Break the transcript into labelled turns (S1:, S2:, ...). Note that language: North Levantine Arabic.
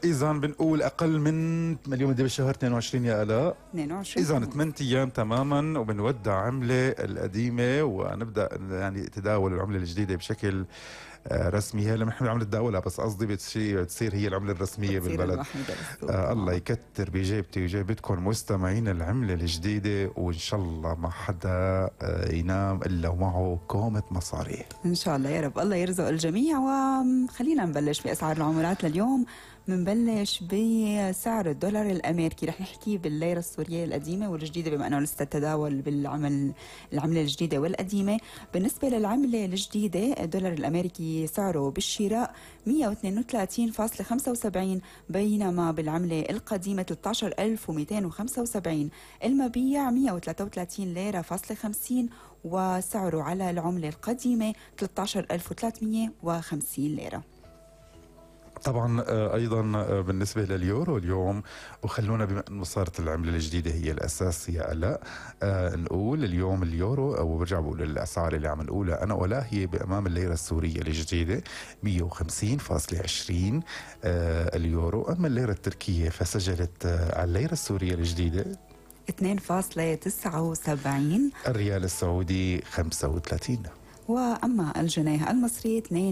S1: إذا بنقول أقل من اليوم قد بالشهر 22 يا آلاء؟
S2: 22.
S1: إذا 8 أيام تماما وبنودع عملة القديمة ونبدأ يعني تداول العملة الجديدة بشكل رسمي. هي لما نحن عم نتداولها بس قصدي بتصير هي العملة الرسمية بالبلد. الله يكتر بجيبتي وجيبتكم مستمعين العملة الجديدة، وإن شاء الله ما حدا ينام إلا ومعه كومة مصاري
S2: إن شاء الله يا رب. الله يرزق الجميع. وخلينا نبلش بأسعار العملات لليوم. منبلش بسعر الدولار الأمريكي. رح نحكي بالليرة السورية القديمة والجديدة بما أنه لسه التداول العملة الجديدة والقديمة. بالنسبة للعملة الجديدة الدولار الأمريكي سعره بالشراء 132.75، بينما بالعملة القديمة 13,275. المبيع 133 ليرة فاصلة 50، وسعره على العملة القديمة 13,350 ليرة.
S1: طبعا ايضا بالنسبه لليورو اليوم، وخلونا بما انه صارت العمله الجديده هي الاساس يا الاء، نقول اليوم اليورو، او برجع بقول الاسعار اللي عم نقولها انا ولا هي بامام الليره السوريه الجديده 150.20 اليورو. اما الليره التركيه فسجلت على الليره السوريه الجديده
S2: 2.79.
S1: الريال السعودي 35.
S2: واما الجنيه المصري 2